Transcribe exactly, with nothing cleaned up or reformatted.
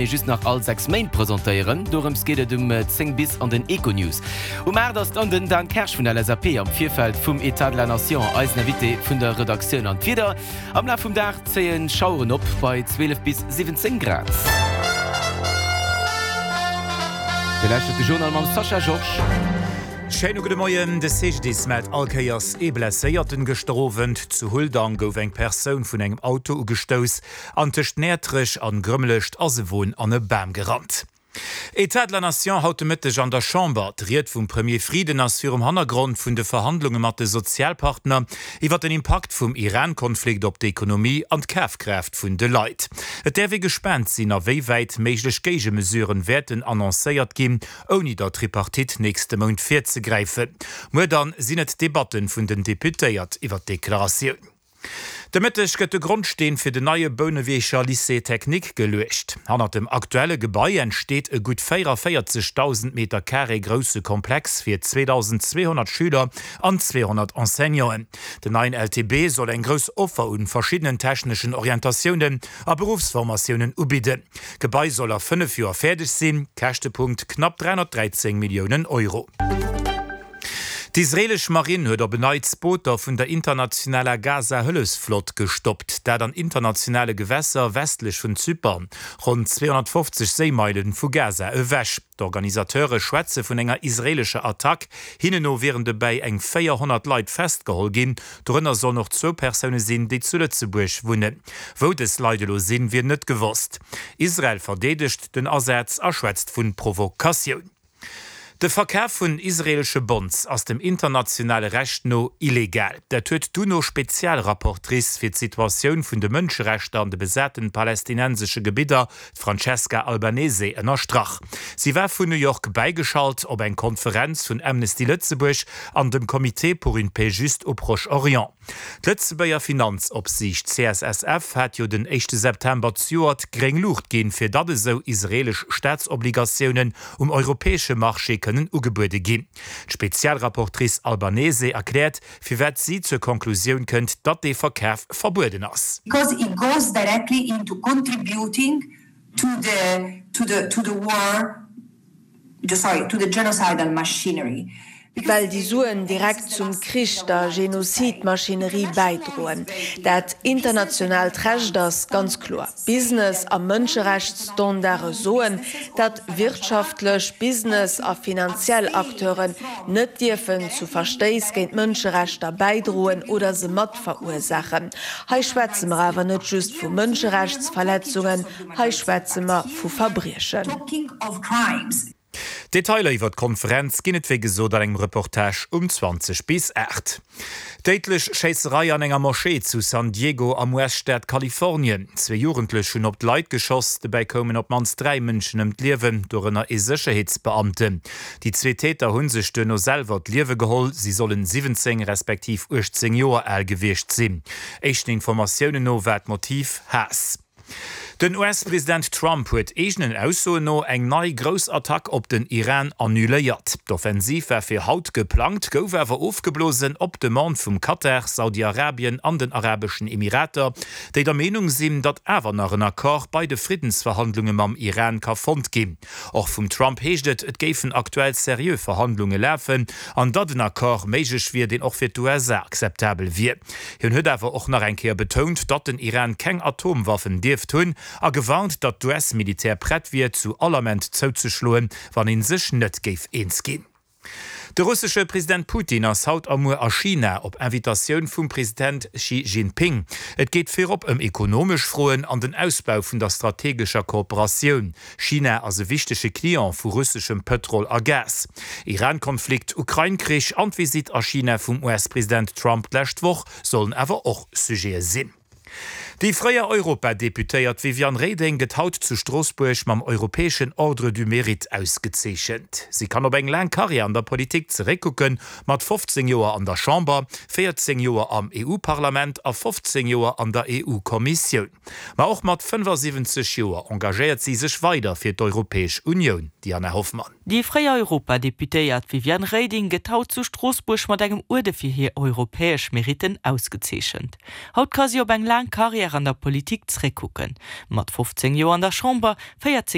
Just nach all sechs Méint presentéieren. Dorëms geet et um zéng bis an den Econews. Um aacht ass dann den Dan Kersch vun der L S A P am Virfeld vum État de la Nation eisen Invité vun der Redaktioun. An d'Wieder, Am Laf vum Dag zéien Schaueren op bei zwielef bis siwwenzéng Grad. Dir lauschtert de Journal mam Sascha Georges. Schéine gudde Moien, De C G D I S mellt all Kéiers ee Blesséierten. Gëschter Owend zu Huldang gouf eng Persoun vun engem Auto ugestouss an tëscht Näertrech an Grëmmelecht ass e Won an e Bam gerannt. État de la Nation haut de Mëtteg an der Chamber. D'Ried vum Premier Frieden ass virum Hannergrond vun de Verhandlunge mat de Sozialpartner iwwer den Impakt vum Iran-Konflikt op d'Ekonomie an d'Kafkraaft vun de Leit. Et däerf ee gespaant sinn, a wéi wäit méiglech Géigemesuren wäerten annoncéiert ginn, ouni der Tripartite nächste Mount virzegräifen. Muer dann sinn et d'Debatten vun den Deputéiert iwwer d'Deklaratioun. De Mëtteg gëtt de Grondsteen fir den neie Bouneweger Lycée technique geluecht. Hannert dem aktuelle Gebai entsteet e gutt véierundavéierzegdausend Meter Carré grousse Komplex fir zweedausendzweehonnert Schüler an zweehonnert Enseignanten. Den neien L T B soll eng grouss Offer un verschiddenen techneschen Orientatiounen a Beruffsformatiounen ubidden. D'Gebai soll a fënnef Joer fäerdeg sinn, Käschtepunkt knapp dräihonnertdräizéng Milliounen Euro. D'israeelesch Marinn huet op en Neits Booter vun der internationaler Gaza-Hëllefsflott gestoppt, dat an internationale Gewässer westlech vun Zypern, ronn zweehonnertfofzeg Séimeile vu Gaza ewech. D'Organisateure schwätze vun enger israeelescher Attack, hinnen no wieren dobäi eng véierhonnert Leit festgeholl ginn, dorënner sollen och zwou Persoune sinn, déi zu Lëtzebuerg wunnen. Wou dës Leit elo sinn, wier net gewosst. Israel verdeedegt den Asaz a schwätzt vu Provokatioun. De Verkaf vun israeelesche Bonds ass dem internationale Recht no illegal. Dat huet d'UNO-Spezialrapportrice fir d'Situatioun vun de Mënscherechter an de besaten palästinensesche Gebidder, d'Francesca Albanese, ënnerstrach. Si war vun New York bäigeschalt op eng Konferenz vun Amnesty Lëtzebuerg an dem Comité pour une paix juste au Proche-Orient. D'Lëtzebuerger Finanzopsiicht C S S F hat jo den éischte September zejoert gréng Luucht ginn, fir datt esou israeelesch Staatsobligatiounen um europäesche Marché kënnen ugebuede ginn. D'Spezialrapportrice Albanese erkläert, firwat si zur Konklusioun kënnt, datt dee Verkaf verbueden ass. Because it goes directly into contributing to the to the to the war, sorry, to the genocidal machinery. Well déi Suen direkt zum Krich, der Genozidmaschinerie bäidroen. Dat internationaalt Recht ass ganz kloer. Business a Mënscherechtsstandarde soen, datt wirtschaftlech, Business a finanziell Acteuren net dierfen zu Verstéiss géint Mënscherechter bäidroen oder se mat verursaachen. Hei schwätze mer awer net just vu Mënscherechtsverletzungen, hei schwätze mer vu Verbriechen. Detailer iwwer d'Konferenz ginn et wéi gesot an engem Reportage um zwanzeg bis aacht. Déidlech Schéisserei an enger Moschee zu San Diego am U S-Staat Kalifornien. Zwee Jugendlech hunn op d'Leit geschoss, dobäi koumen op d'mannst dräi Mënschen ëm d'Liewen, dorënner ee Sécherheetsbeamten. Déi zwee Täter hu sech duerno selwer d'Liewe geholl, si sollen siwwenzéng respektiv uechtzéng Joer al gewiescht sinn. Éischten Informatiounen no war d'Motiv Haass. Den U S-President Trump huet eegenen Aussoen no eng nei grouss Attack op den Iran annuléiert. D'Offensiv war fir haut geplangt, gouf awer ofgeblosen op Demande vum Katar, Saudi-Arabien an den Arabeschen Emirater, déi der Meenung sinn, datt awer nach en Accord bei de Friddensverhandlunge mam Iran ka fonnt ginn. Och vum Trump heescht et, et géifen aktuell seriö Verhandlunge lafen an datt en Accord méiglech wier, deen och fir d'U S A akzeptabel wier. Hien huet awer och nach eng Kéier betount, datt den Iran keng Atomwaffen dierft hunn a gewarnt, datt d'U S-Militär prett wier, zu all Ament zouzeschloen, wann ee sech net géif eens ginn. De russesche President Putin ass haut a muer a China op Invitatioun vum President Xi Jinping. Et geet virop ëm ekonomesch Froen an den Ausbau vun der strategescher Kooperatioun. China ass e wichtege Client vu russeschem Pëtrol a Gas. Iran-Konflikt, Ukrain-Krich an d'Visitt a China vum U S-President Trump d'lescht Woch sollen awer och Sujete sinn. Déi fréier Europadeputéiert Viviane Reding gëtt haut zu Stroossbuerg mam europäeschen Ordre du Mérite ausgezeechent. Si kann op eng laang Karriär an der Politik zeréckkucken, mat fofzéng Joer an der Chamber, véierzéng Joer am E U-Parlament a fofzéng Joer an der E U-Kommissioun. Ma och mat fënnefasiwwenzeg Joer engagéiert si sech weider fir d'Europäesch Unioun, Diana Hoffmann. Déi fréier Europadeputéiert Viviane Reding gëtt haut zu Stroossbuerg mat engem Uerde fir hir europäesch Meritten ausgezeechent. Haut ka si op eng laang Karriär an der Politik zréckkucken. Mat fofzéng Joer an der Chamber, véierzéng